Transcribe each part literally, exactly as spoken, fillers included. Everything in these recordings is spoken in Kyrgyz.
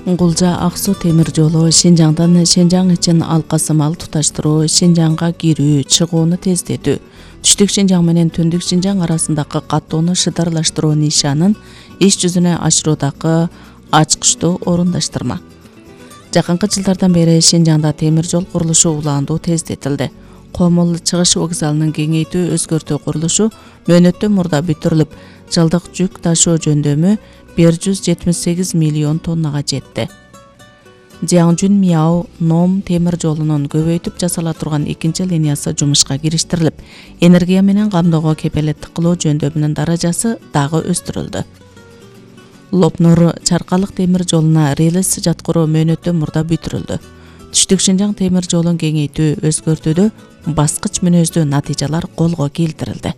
Гулжа Ак Суу темир жолу Шинжаңдан Шенжаң үчүн алкасы мал туташтыруу, Шинжаңга кирүү, чыгууну тездетүү, түштүк Шинжаң менен түндүк Шинжаң арасындагы каттоону шыдарлаштыруу нишанын иш жүзүнө ашыруудагы ачкычтуу орундаштырма. Жакынкы жылдардан бери Шинжаңда темир жол курулушу улаандуу тездетилди. Комул чыгыш вокзалынын кеңейтүү өзгөртүү курулушу мөөнөттөн мурда бүтүрүлүп, жылдык жүк ташуу жөндөмү бир жүз жетимиш сегиз миллион тоннага жетти. Жиаңжүн Мияо Ном темир жолунун көбөйтүп жасала турган экинчи линиясы жумушка кириштирилип, энергия менен камдоого кепелеттик кылуу жөндөмүнүн даражасы дагы өстүрүлдү. Лопнур Чаркалык темир жолуна релс жаткыруу мөөнөттөн мурда бүтүрүлдү. Түштүк Шинжаң темир жолун кеңейтүү өзгөртүүдө баскыч мүнөздүү натыйжалар колго келтирилди.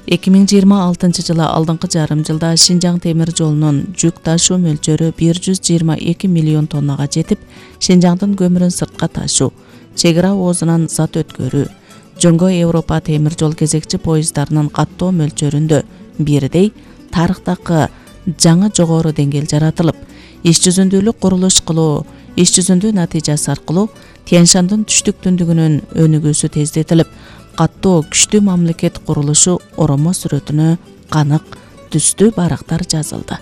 эки миң жыйырма алтынчы жылы алдыңкы жарым жылда Шинжаң темир жолунун жүк ташуу мөлчөрү бир жүз жыйырма эки миллион тоннага жетип, Шинжаңдын көмүрүн сыртка ташуу, чек ара оозунан зат өткөрүү, Жөнгө Европа темир жол кезекчи поезддарынын каттоо мөлчөрүндө бирдей тарыхтагы жаңы жогору деңгээл жаратылып, иш жүзүндүүлүк курулуш кылуу, иш жүзүндүү натыйжасы аркылуу Тянь-Шандын түштүк түндүгүнүн өнүгүүсү тездетилип, каттоо күчтүү мамлекет курулушу оромо сүрөтүнө канык түстүү барактар жазылды.